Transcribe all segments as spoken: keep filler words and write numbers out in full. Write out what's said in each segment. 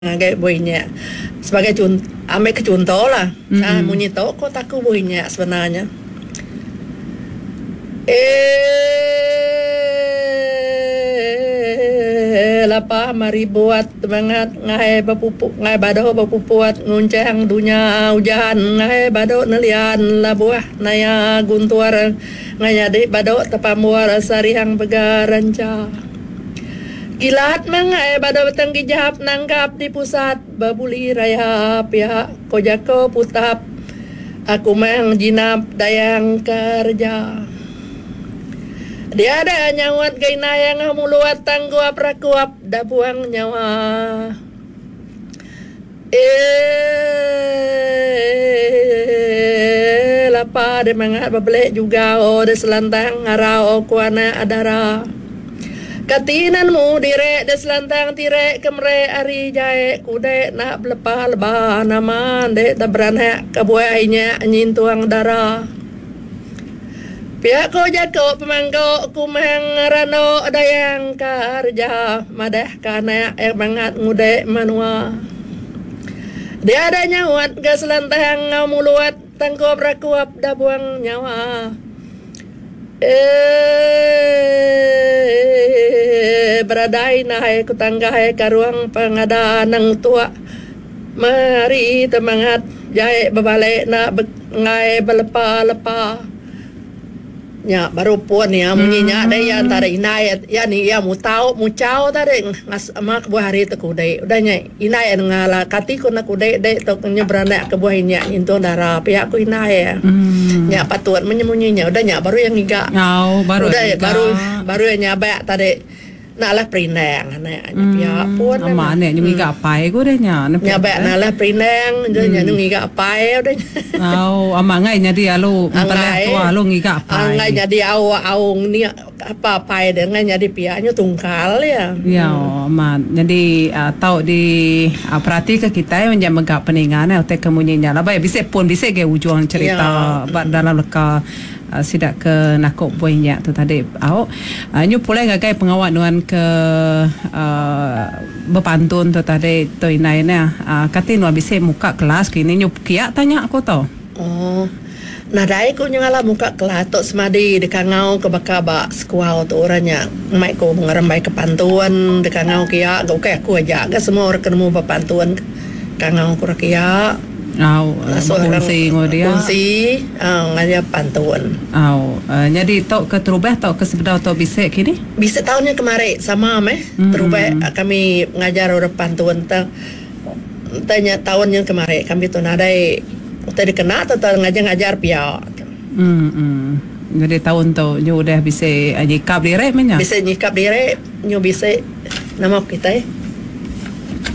Ngagai buah inya sebagai chun ambi ke chunto lah mm -hmm. Munyi tu ko taku buah inya sebenarnya. Eh lapa mari buat semangat ngai bepupuk ngai bado bepuput ngunchang dunya ujan ngai bado nelian labuh naya guntur ngai nyadi bado tepambur sarihang bega rencha. Kilat mengai bado beteng gijap nangkap di pusat bebuli raya pia ko jako putap aku mang jinap dayang kerja. Dia ada nyaut ga inai angah muluat tangguap rakuap da buang nyawa. Eh lapa de mangat bebelek juga o de selantang ngarau ku anak adara. Kati nemu dire de selantang tire ke mere ari jai kude nak belepa leba nama ende da beranak ke buah inya nyintung dara. Pia ko jako pemangko kumang rano dayang kerja madah ke anak yang bangat ngude menua. Dia ada nyaut ke selantang ngau muluat tangkup rakuap da buang nyawa. Eh beradai nahai ku tanggai karuang pengada nang tua mari temangat jai bebalik nak ngai belepa-lepa. Nya baru pun ya munyi nya deh ya antara inai ya ni ya mutau muchau tadi ngas ama kebuah hari tu kudai udah nya inai ngala kati ku nak kudai dek tu nya beranak kebuah inya nyintung dara pihak ku inai ya. Hmm. Nya patut menyemunyi nya udah nya baru yang ngiga. Oh, baru udah ngiga. baru baru yang nyabak tadi nak lah perindang anak nya pihak pun ama anak nya ngiga apai ku deh nya nyabak nak lah perindang nya nya ngiga apai udah. Oh, ama ngai nyadi alu empelah tua alu ngiga apai. Ngai nyadi au au ni apa apai deh ngai nyadi pihaknya tungkal ya. Ya, ama jadi uh, tau di uh, perhati ke kita menjak megak peningan eh utai kemunyi nya labai bisik pun bisik ge ujung cerita ya. Ba dalam leka uh, sidak ke nakuk buah nya tu tadi au uh, nyu pulai ngagai pengawak nuan ke uh, berpantun tu tadi tu inai ne uh, kati nuan bisik muka kelas kini nyu kiak tanya aku tu. Oh. Nadai ku nyengala muka kelas tok semadi dekangau ke baka ba sekuau tu orangnya mai ku ngerembai ke pantun dekangau kia ga ukai aku aja ga semua orang kena berpantun kangau ku kia. Au kongsi ngau dia. Kongsi uh, ngajar pantun. Au uh, jadi tok ke terubah tok ke sebedau tok bisik kini? Bisik tahunnya kemarin sama meh. Mm-hmm. Terubah kami ngajar orang pantun tang tanya tahunnya kemarin kami tu nadai utai dikena atau ngajar-ngajar pihak. Hmm, hmm. Jadi tahun tu nyu udah bisa nyikap diri menya. Bisa nyikap diri, nyu bisa nama kita.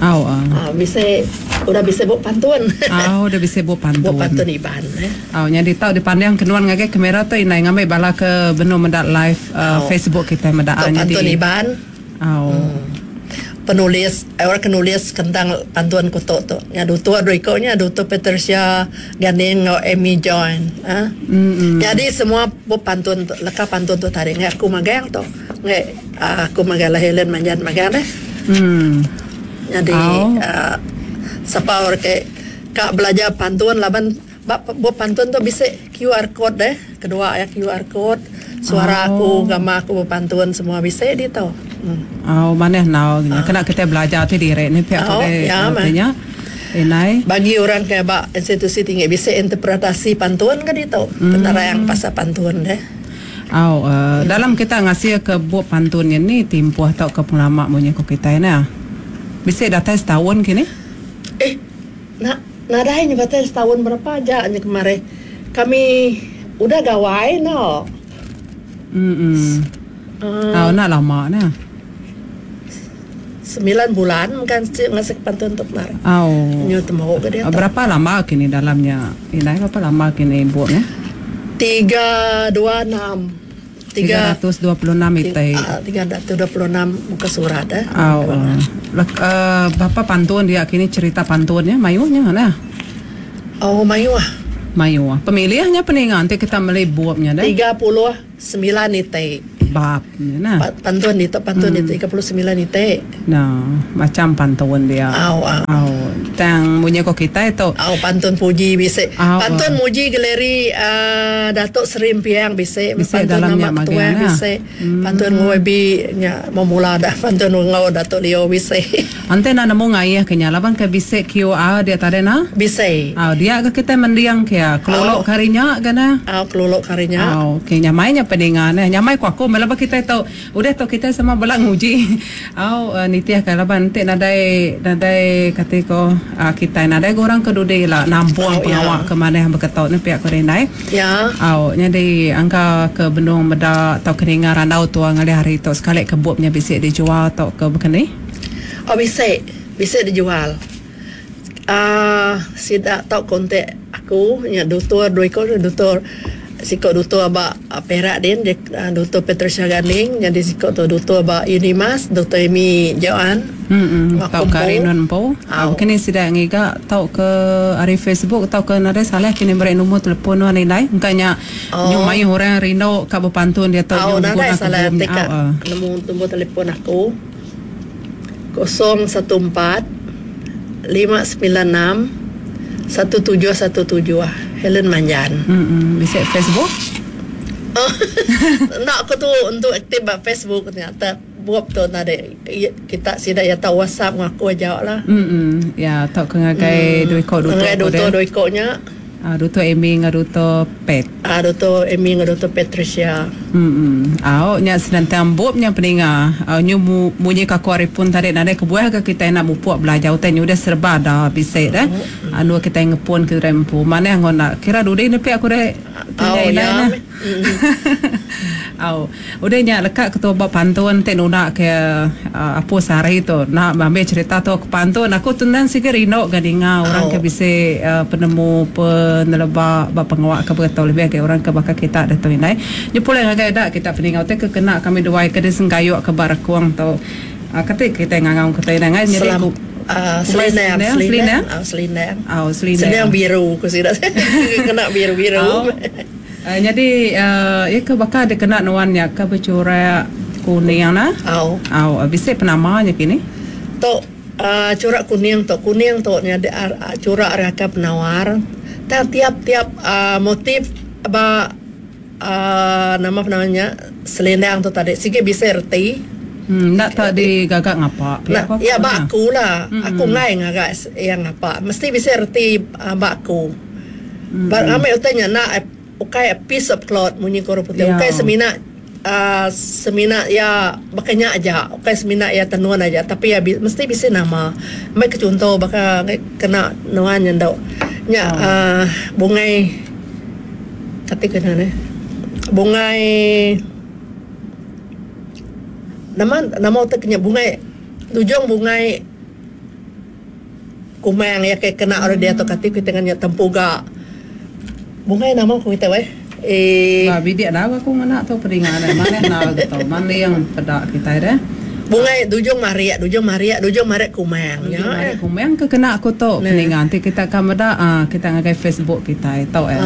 Au ah. Uh, bisa udah bisa buat pantun. Au udah bisa buat pantun. Buat pantun Iban eh. Au nyadi tau dipandang kenuan ngagai kamera tu inai ngambil bala ke benu mendak live uh, Facebook kita mendak nyadi. Pantun Iban. Au. Hmm. Penulis, orang penulis tentang pantun kutuk tu. Nya dutu ada ikutnya, dutu Patricia Ganing ngau Amy Join. Ha? Mm-hmm. Jadi semua buat pantun tu, leka pantun tu tadi. Ngai aku magang tu. Ngai aku magang lah Helen Manjan magang deh. Mm. Jadi oh. uh, siapa orang ke kak belajar pantun laban buat pantun tu bisa Q R code deh. Kedua ya Q R code, suara oh. aku, gambar aku berpantun semua bisa di tu. Hmm. Oh, mana nau uh. Kena kita belajar tu direk ni pihak oh, tu ya, artinya. Inai bagi orang ke ba institusi tinggi bisa interpretasi pantun kan itu. Hmm. Penerang pasal pantun deh. Oh, uh, hmm. Dalam kita ngasih ke buat pantun ni timpuh atau ke pengelama munyi ko kita ni. Bisa datang setahun kini? Eh, nak nadai nyebatai setahun berapa aja nya kemarin. Kami udah gawai no. Hmm. Uh, oh, nak lama nah. Sembilan bulan kan ngasih pantun untuk kemarin. Oh. Nyu temu ke dia. Berapa lama kini dalamnya? Ini berapa lama kini buatnya? Tiga dua enam. Tiga ratus dua puluh enam itu. Tiga ratus dua puluh enam muka surat eh. Oh. Uh, berapa pantun dia kini cerita pantunnya mayuhnya nah. Oh mayu ah. Mayu. Pemilihannya peningan nanti kita beli buatnya deh. Tiga puluh sembilan itu. Bab nah. Pantun itu pantun hmm. itu tiga puluh sembilan itu. Nah, macam pantun dia. Au au. Au. Tang bunyi ko kita itu. Au pantun puji bisa. Pantun muji galeri uh, Datuk Seri Empiang bisa. Bisa pantun dalamnya nama ketua bisa. Hmm. Pantun ngobi nya memula dah pantun ngau Datuk Leo bisa. Ante na nemu ngayah kenya laban ke bisa Q R dia tadi na? Bisa. Au dia ke kita mendiang ke kelolok karinya kena. Au kelolok karinya. Au okay, nyamainya peningan nyamai ku aku melaba kita tahu udah tahu kita sama belak nguji. Au uh, nitiah ke laban nanti nadai nadai kata ko uh, kita nadai orang ke dude lah nampuang oh, pengawak ya. Ke mana yang berketok ni pihak korenai. Ya. Au jadi angka ke bendung meda atau keninga randau tua ngalih hari tu sekali kebupnya bisa dijual atau ke bekeni? Oh bisa, bisa dijual. Ah uh, sidak tau kontak aku nya doktor dua ekor doktor sikok doktor ba Perak din dia doktor Patricia Ganing jadi sikok tu doktor ba Unimas doktor Amy Joan. Hmm tau Karinon po. Ah kini sidak ngiga tau ke ari Facebook tau ke nadai salah kini beri nombor telefon wan nilai engkanya oh. Nyu mayu orang rindu ka berpantun dia tau oh, nyu nadai salah teka nombor nombor telefon aku kosong satu empat lima sembilan enam satu tujuh satu tujuh Helen Manjan. Hmm, bisa Facebook? Oh, nak aku tu untuk aktif ba Facebook ternyata buat tu nade kita sida ya tahu WhatsApp ngaku aja lah. Hmm, ya tak ke ngagai dua ikok duto. Ngagai duto dua ikoknya. Ah duto Amy dengan duto Pet. Ah duto Amy dengan duto Patricia. Hmm. Au nya senantang bobnya peninga. Au nyu munyi ka aku hari pun tadi nadai kebuah ke kita nak mupuk belajar utai nyu dah serba dah bisa dah. Anu kita ngepun ke rempu. Mana yang nak kira dude ni pihak aku dah tanya ya. Au udah nya lekat ketua bab pantun te nunak ke uh, apa sehari tu nak ambil cerita tu ke pantun aku tundan sikit rindu ke dengar orang ke bisa uh, penemu peneleba bab pengawak ke beritahu lebih ke orang ke bakal kita dah tu indai. Nya pula ngagai dak kita peningau te ke kena kami duai ke desengkayuk ke barakuang tu. Uh, kata kita ngangau kata ngai jadi aku Uh, selendang, selendang, selendang, oh, selendang, selendang biru, aku sih kena biru-biru. Oh. Uh, jadi, uh, ya ke bakal ada kena nuannya ke bercorak kuning nah? Oh, oh, bisa penamanya kini? Tok uh, corak kuning, tok kuning tok ni ada uh, corak raka penawar. Tiap-tiap uh, motif ba uh, nama penamanya selendang tu tadi, sikit bisa erti. Hmm, nak tak digagak ngapa? Nah, ya bak aku lah. Mm-hmm. Aku ngai ngagak yang ngapa. Mesti bisa erti uh, bak aku. Mm-hmm. Bar amai utanya nak ukai a piece of cloth munyi koro putih. Yeah. Ukai semina uh, semina ya bakanya aja. Ukai semina ya tenuan aja, tapi ya bi- mesti bisa nama. Mai ke contoh baka kena nuan nyendok. Nya Oh. uh, bungai kati kena ne. Bungai nama nama utak kena bungai tujung bungai kumang ya kayak kena orang dia atau kati kita dengan tempuga bungai nama aku kita weh eh ba bidik dah aku mana tu peringan mana nak gitu mana yang pedak kita dah bungai dujung maria dujung maria dujung maria kumang ya kumang ke kena aku tu peringan nanti kita akan meda ah kita ngagai Facebook kita tahu eh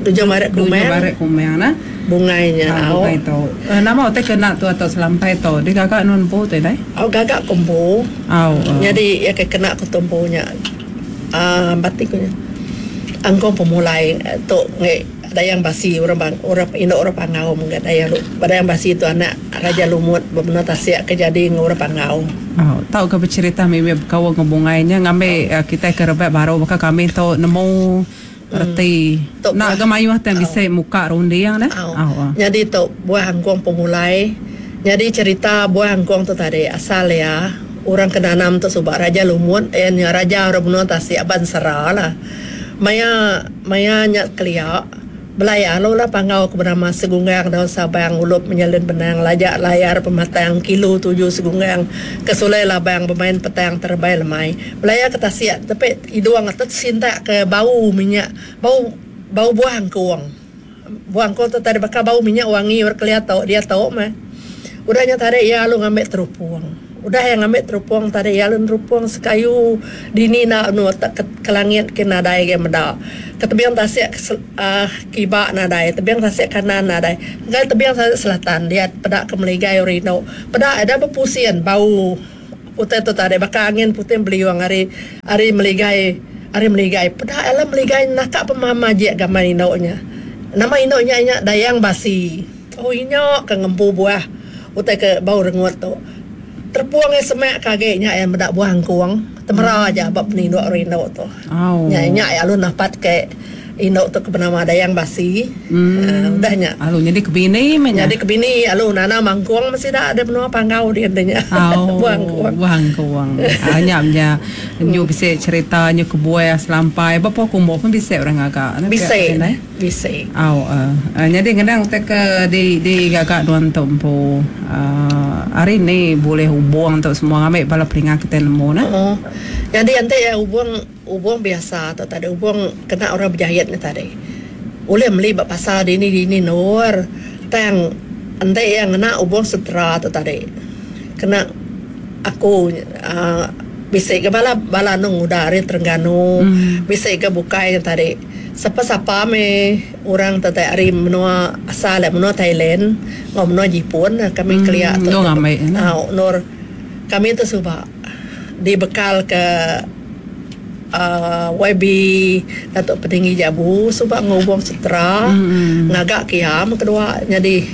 dujung maria kumang dujung maria kumang nah bungainya ah, bungai tu uh, nama utai kena tu atau selampai tu dia gagak non po tu dai au gagak kompo au uh. Jadi ya ke kena aku tumpunya ah batiknya angkong pemulai tu nge dayang basi orang bang orang induk orang pangau mungkin dayang dayang basi itu anak raja lumut benar tasiak kejadi orang pangau. Oh, tahu ke bercerita mimi kau ngebungainya ngambil uh, kita ke rebek baru maka kami tu nemu reti. Tok nak buah- ke mayuh tan bisa muka rundi yang dah. Au. Oh. Jadi tu buah angkong pemulai. Jadi cerita buah angkong tu tadi asal ya orang kenanam tu subak raja lumut eh raja orang benua tasiak bansera lah. Maya maya nyak keliak belaya lo lah pangau ke bernama segunggang daun sabang ulup menyalin benang lajak layar pematang kilo tujuh segunggang kesulai labang bermain petang terbai lemai belaya ke tasiak tapi iduang atau sintak ke bau minyak bau bau buah angkuang buah angkuang tu tadi bakal bau minyak wangi orang keliat tau dia tau mah udahnya tarik ya lu ngambil terupung Udah yang ambil terupung tadi ya lun terupung sekayu dini nak nu tak ke, ke langit ke nadai ke meda. Ke tebing tasik uh, kiba nadai, tebing tasik kanan nadai. Ngai tebing tasik selatan dia peda ke meligai urino. Peda ada berpusian bau putih tu tadi baka angin putih beliung hari hari meligai hari meligai. Peda alam meligai nakak pemama je gambar indoknya. Nama indoknya nya Dayang Basi. Oh inyo ke ngempu buah utai ke bau rengut tu. Terpuang yang semak kageknya yang medak buah angkuang temera aja bab peninduk rinduk tu. Oh. Nya nya ya lu napat ke induk tu ke bernama Dayang Basi. Hmm. Uh, udah nya. Alu jadi kebini menya. Jadi kebini alu nana mangkuang mesti dah ada menua panggau dia nya. Oh, buah angkuang. Buah angkuang. Ah nya nya nyu bisa cerita nyu kebuah selampai bapa kumbo pun bisa orang agak. Bisa. Bisa. Au uh, uh, jadi ngedang te ke di di gagak duan tempo. Uh, hari ni boleh hubung untuk semua ambil bala peringat kita nemu nah. Oh. Jadi nanti ya hubung hubung biasa atau tadi hubung kena orang berjahit ni tadi. Boleh beli bak pasar di ni di ni nur. Tang nanti yang kena hubung setera atau tadi. Kena aku uh, bisa ke bala bala nung udah hari Terengganu, hmm. bisa ke bukai yang tadi. Siapa-siapa me orang tadi hari menua asal menua Thailand, ngau menua Jepun kami hmm, keliak tu. Dong amai. Ah, nur kami tu subak dibekal ke uh, Y B Datuk Petinggi Jabu subak ngubung setera hmm. ngagak kiam kedua jadi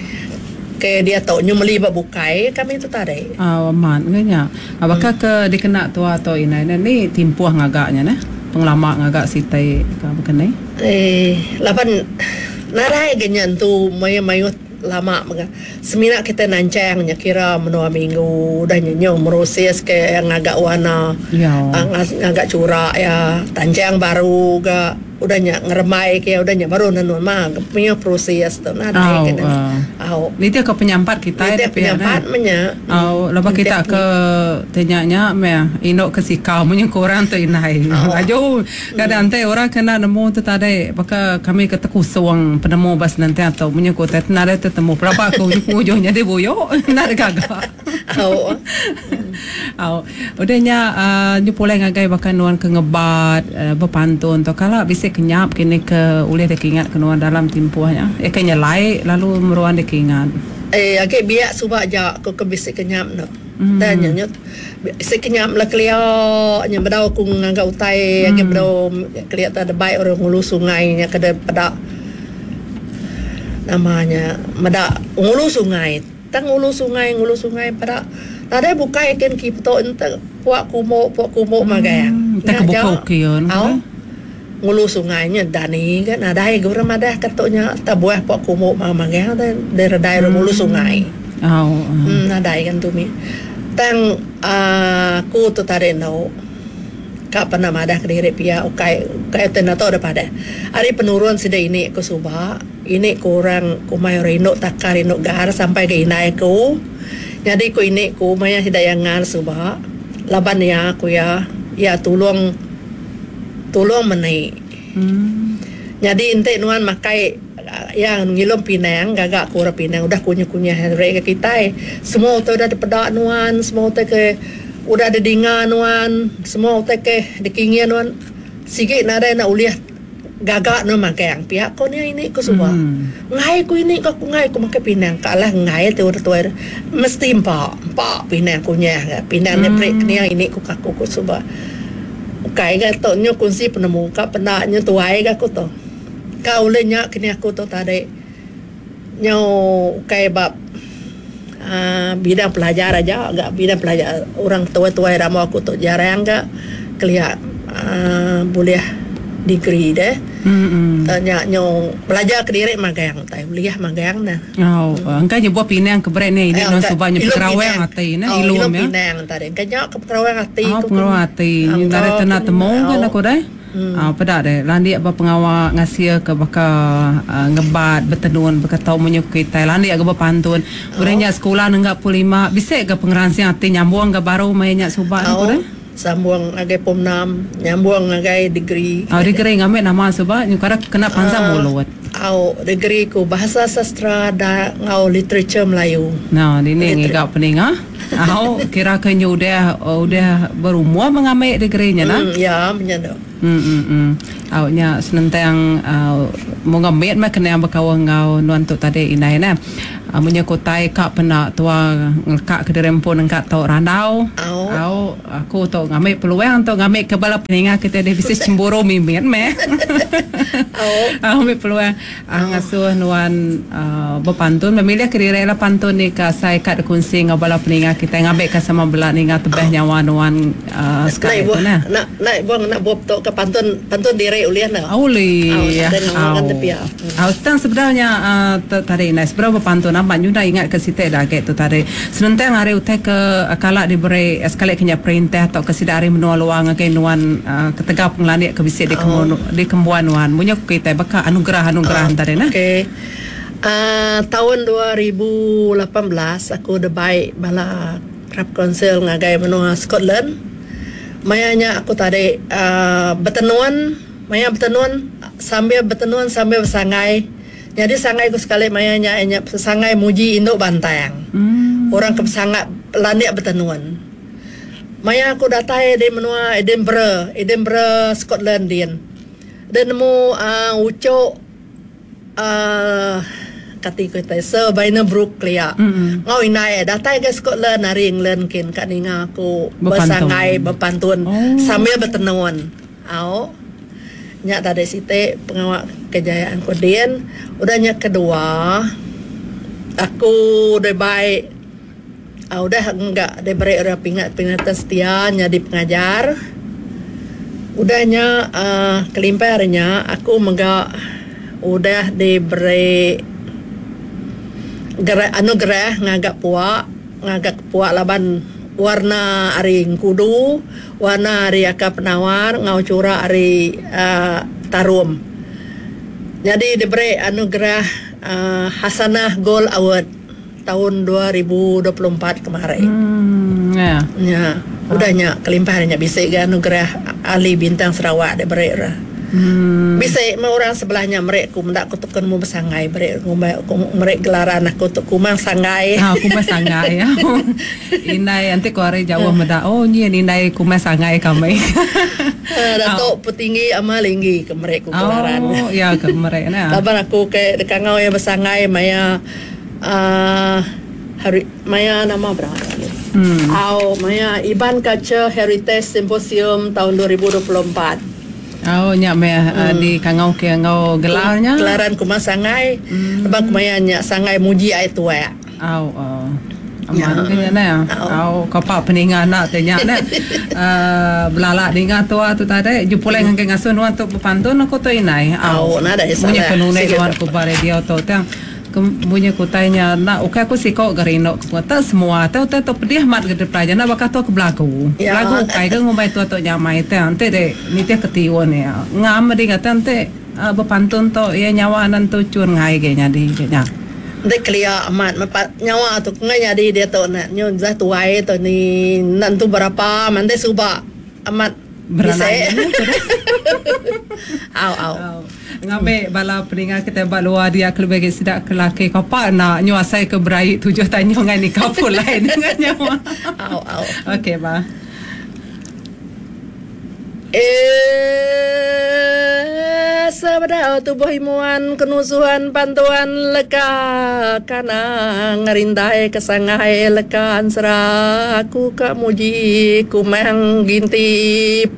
ke dia tau nyu meli bak bukai kami tu tadi. Ah, aman kenya. Apakah hmm. ke dikena tua atau inai ni timpuh ngagaknya nah? Pengelama ngagak sitai ke berkenai? Eh, lapan narai genyan tu mayu-mayu lama mega. Semina kita nancangnya kira menua minggu dah nyenyo meroses ke ngagak warna. Ya. Ngagak curak ya, tancang baru ga udah nya ngeremai ke udah nya baru nenun mah punya proses tu nadai oh, kena. Uh. Au. Ni dia ke penyampat kita ni dia penyampat menya. Au, lepas kita ke tanyanya me indok ke sikau munyi korang tu inai. Oh. Ajo kadang te orang kena nemu tu tadi baka kami ke tekusung penemu bas nanti atau munyi ko te nadai tetemu berapa aku ujung-ujungnya dia boyo nak gagak. Au. Au. Udahnya uh, nyu pulai ngagai bahkan nuan ke ngebat uh, berpantun tu kalau bisa kenyap kini ke ulih dia ingat ke nuan dalam timpuhnya. Eh kenya lai lalu meruan dia ingat. Eh agak biak subak ja aku ke bisa kenyap no. Hmm. Dan nyo bisa kenyap lah kelia nya bedau aku nganggak utai hmm. agak bedau kelia tak ada baik orang ngulu sungainya ke pedak namanya medak ngulu sungai. Tang ngulu sungai ngulu sungai pedak nadai bukai ken ki petok ente puak kumuk puak kumuk hmm. magai. Tak kebuka kion. Au. Ngulu sungainya dani kan nadai gura madah ketuknya tabuah puak kumuk magai dan redai hmm. ngulu sungai. Au. Hmm, nadai kan tu mi. Tang aku tu tadi nau. Kak pernah madah ke diri pia ukai ukai tenato daripada. Hari penurun sida ini aku subak. Ini kurang kumai rinduk takar rinduk gar sampai ke inai ku. Jadi ku ini ku maya sida yang ngar subak. Laban ya aku ya ya tolong tolong menai. Hmm. Jadi ente nuan makai yang ngilom Pinang gagak ku orang Pinang udah kunyah-kunyah rek ke kita. Semua tu udah dipedak nuan, semua tu ke udah ada dinga nuan, semua utai ke dikingian nuan. Sikit nadai nak uliah gagak nuan makan. Pihak kau ni ini ku semua. Hmm. Ngai ku ini ku ngai ku makan Pinang. Kalah ngai tu udah tua mesti empak, empak Pinang kunyah. Pinang ni Hmm. break ni ini ku kaku ku semua. Ukai ga tok nyo kunci penemu ka pendaknya tuai ga ku tu. Kau ulih nya kini aku tu tadi. Nyo ukai bab Uh, bidang pelajar aja agak bidang pelajar orang tua-tua ramo aku tu jarang gak kelihat uh, boleh degree deh. Hmm. Tanya nyo belajar ke diri magang tai boleh magang nah. Oh, engkau je buat Pinang ke berat ni ini Eh, non engkau- subaknya ilum Pekerawang Pinang. ati nah Oh, ilum ilum ya. Pinang tadi. Kanya ke Pekerawang ati Oh, ku pengerawang ati. Ah, Ni dari engkau tanah kena- temu kan oh. aku deh. Hmm. Ah, pedak deh. Landik apa pengawak ngasia ke baka uh, ngebat bertenun berkatau menyukai tai landik ke berpantun. Urangnya sekolah nenggak puluh lima bisa ke pengeransing ati nyambung ke baru mainnya subak aku Oh, deh. sambung agai pom enam, nyambung agai degree. Ah, degree ngambil nama subak nyukara kena pansa Ah. mulut. Au degree ku bahasa sastra dan ngau literature Melayu. Nah, ini Liter- ngigak peninga. Au kira ke nyu udah udah berumur mengambil degree nya nah. Hmm, ya menyado. Hmm hmm hmm. Au nya senentang uh, mengambil mah kena berkawan ngau nuan tu tadi inai nah. Uh, munyi kutai ka pena tua ngekak ke dirempun engkak tau randau. Au. Au aku tu ngambil peluang tu ngambil ke bala peninga kita dia bisa cemburu mimit meh. Au. Au ambil peluang uh, ngasuh nuan uh, berpantun memilih ke diri lah pantun ni ka saya kat kunci ngau bala peninga kita ngambil ka sama bela ninga tebeh nyawa nuan uh, sekali tu nah. Nak nak buang nak buat tu ke pantun pantun diri uliah nah. Uli. Au. Au tang sebenarnya uh, tadi nah sebenarnya berpantun nampak nyuda ingat ke sitek dah ke tu tadi. Senentang hari utai ke kalak diberi sekali kenya perintah atau ke sida hari menua luang ke nuan uh, ketegap pengelandik ke bisik di kembuan oh. di kembuan nuan. Munyo kita baka anugerah-anugerah oh, tadi nah. Okey. Uh, tahun dua ribu lapan belas aku udah baik bala Crab Council ngagai menua Scotland. Mayanya aku tadi uh, bertenun, maya bertenun sambil bertenun sambil bersangai. Jadi sangai ku sekali mayanya nya sangai muji induk bantang. Hmm. Orang ke sangat landik bertenun. Maya aku datai di menua Edinburgh, Edinburgh Scotland din. Dan nemu uh, ucok uh, kati ku tai Sir Vyner Brooke lia. Mm-hmm. Ngau inai datai ke Scotland hari England kin kat ninga aku bersangai berpantun oh. sambil bertenun. Au. Nyak tadi site pengawak kejayaan ku din. Udahnya kedua aku udah baik ah, udah enggak diberi orang pingat pingatan setia jadi pengajar. Udahnya uh, kelimparnya aku megak udah diberi gerah anugerah ngagak puak ngagak puak laban warna ari kudu, warna ari akap penawar, ngau cura ari uh, tarum. Jadi diberi anugerah uh, Hasanah Gold Award tahun dua ribu dua puluh empat kemarin. Hmm, ya. Ya, udahnya kelimpahannya bisa ke anugerah Ali Bintang Sarawak diberi lah. Hmm. Bisa mau orang sebelahnya mereka ku mendak kutukan mu bersangai mereka mereka gelaran aku tu kumang sangai. Ah, kumang sangai ya. Inai nanti ku hari jauh mendak. Oh ni inai kumang sangai kami. Datuk petinggi ama linggi ke mereka ku gelaran. Oh ya ke mereka nah. Laban aku ke dekat ngau yang bersangai maya uh, hari maya nama berapa? Hmm. Au maya Iban Culture Heritage Symposium tahun dua ribu dua puluh empat. Oh nyak me hmm. di kangau ke ngau gelarnya. Gelaran kuma sangai. Hmm. Abang kumaya nyak sangai muji ai tuak. Au au. Aman ke nya. Au kapa peninga nak te nyak ne. Uh, belalak ninga tua tu tadi jupulai ngan ke ngasuh nuan tu berpantun aku tu inai. Au nada salah. Munyi penunai nuan ku ba radio tu tang. Bunyi kutainya nak okey aku sikok gerindok ku tak semua tau tau pedih mat ke pelajar nak bakal tu ke belagu. Ya. Belagu kai ke ngumbai tu tok nyamai teh ante de nitih ketiwon ya. Ngam di kata ante uh, berpantun tu ya nyawa nan tu cun ngai ke nyadi ke nya. Dek kelia amat mepat nyawa tu ngai nyadi dia tu nak nyu dah tuai tu ni nan tu berapa mande suba amat beranai. Au au. Ngambil bala peninga kita bak luar dia kelebih ke sidak ke laki kapa nak nyuasai ke berai tujuh tanya ngan ni kau pulai dengan nyawa. Au au. Okey ba. Eh sabda tubuh imuan kenusuhan pantuan leka kana ngerindai kesangai leka ansra aku ka muji kumang gintip.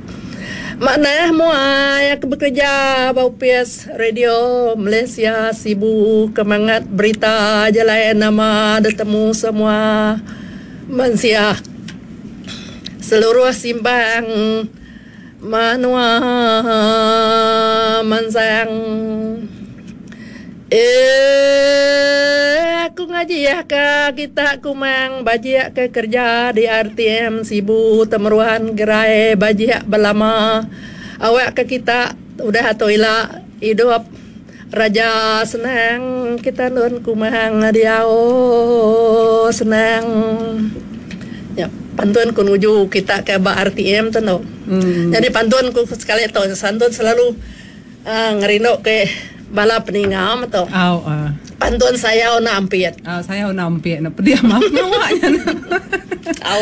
Makna muai aku bekerja bau P S Radio Malaysia Sibu kemangat berita jalan nama detemu semua manusia seluruh simbang manua mansang. Eh aku ngaji ya ke kita kumang bajiak ke kerja di R T M Sibu temeruan gerai bajiak belama awak ke kita udah atau ila hidup raja senang kita nun kumang dia oh senang ya pantun ku nuju kita ke ba R T M tu no. Hmm. Jadi pantun ku sekali tu santun selalu uh, ngerindok ke Bala peninga tu. Au ah. Pantun sayau na ampit. Ah, sayau na ampit na pedia maaf ngawaknya. Au.